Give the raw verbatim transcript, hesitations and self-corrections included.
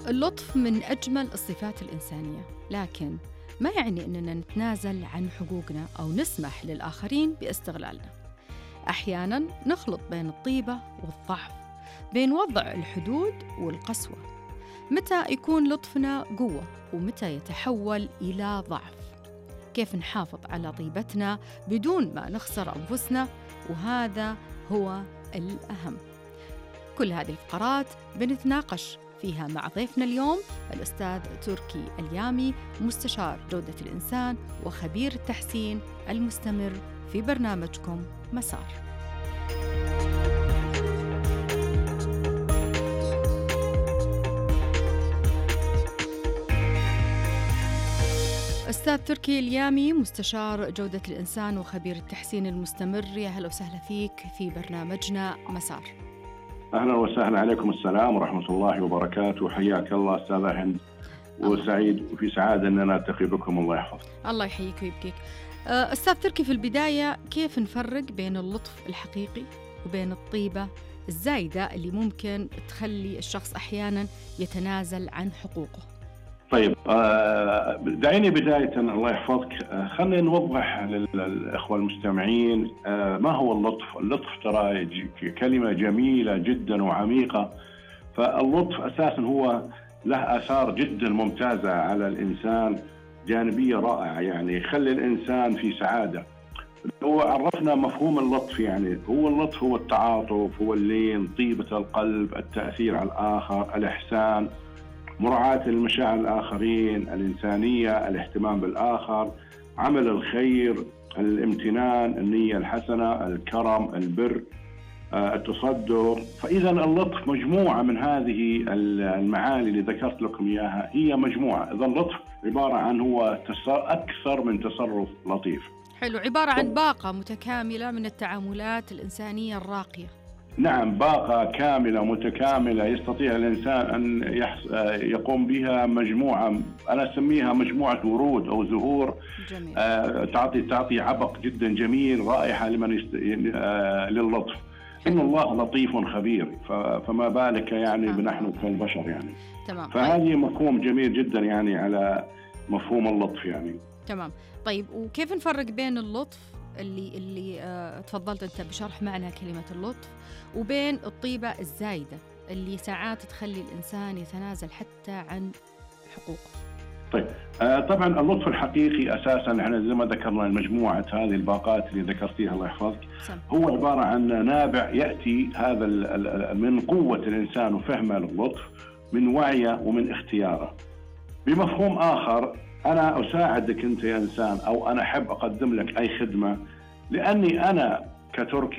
اللطف من أجمل الصفات الإنسانية، لكن ما يعني أننا نتنازل عن حقوقنا أو نسمح للآخرين باستغلالنا. أحياناً نخلط بين الطيبة والضعف، بين وضع الحدود والقسوة. متى يكون لطفنا قوة ومتى يتحول إلى ضعف؟ كيف نحافظ على طيبتنا بدون ما نخسر أنفسنا؟ وهذا هو الأهم. كل هذه الفقرات بنتناقش فيها مع ضيفنا اليوم الأستاذ تركي اليامي، مستشار جودة الإنسان وخبير التحسين المستمر في برنامجكم مسار. أستاذ تركي اليامي، مستشار جودة الإنسان وخبير التحسين المستمر، يا هلا وسهلا فيك في برنامجنا مسار. أهلا وسهلا، عليكم السلام ورحمة الله وبركاته. حياك الله أستاذة هند، وسعيد وفي سعادة أن نلتقي بكم. الله يحفظك. الله يحييك ويبقيك. أستاذ تركي، في البداية كيف نفرق بين اللطف الحقيقي وبين الطيبة الزايدة اللي ممكن تخلي الشخص أحيانا يتنازل عن حقوقه؟ طيب، دعيني بداية الله يحفظك خلينا نوضح للإخوة المستمعين ما هو اللطف. اللطف ترى كلمة جميلة جدا وعميقة. فاللطف أساسا هو له آثار جدا ممتازة على الإنسان، جانبية رائعة، يعني يخلي الإنسان في سعادة. هو عرفنا مفهوم اللطف، يعني هو اللطف هو التعاطف، هو اللين، طيبة القلب، التأثير على الآخر، الإحسان، مراعاة المشاعر الآخرين، الإنسانية، الاهتمام بالآخر، عمل الخير، الامتنان، النية الحسنة، الكرم، البر، التصدق. فإذا اللطف مجموعة من هذه المعاني اللي ذكرت لكم إياها، هي مجموعة. إذا اللطف عبارة عن هو أكثر من تصرف لطيف. حلو، عبارة عن باقة متكاملة من التعاملات الإنسانية الراقية. نعم، باقة كاملة متكاملة يستطيع الإنسان أن يقوم بها مجموعة، أنا أسميها مجموعة ورود أو زهور. جميل. تعطي تعطي عبق جدا جميل، رائحة لمن يست... للطف. إن الله لطيف خبير، فما بالك يعني بنحن كالبشر يعني. تمام. فهذه مفهوم جميل جدا يعني على مفهوم اللطف يعني. تمام. طيب، وكيف نفرق بين اللطف اللي اللي آه تفضلت أنت بشرح معنى كلمة اللطف وبين الطيبة الزايدة اللي ساعات تخلي الإنسان يتنازل حتى عن حقوقه؟ طيب، آه طبعا اللطف الحقيقي أساسا احنا زي ما ذكرنا المجموعة هذه الباقات اللي ذكرتيها الله يحفظك، هو عبارة عن نابع يأتي هذا من قوة الإنسان وفهمه للطف، من وعيه ومن اختياره. بمفهوم آخر، أنا أساعدك أنت يا إنسان، أو أنا أحب أقدم لك أي خدمة لأني أنا كتركي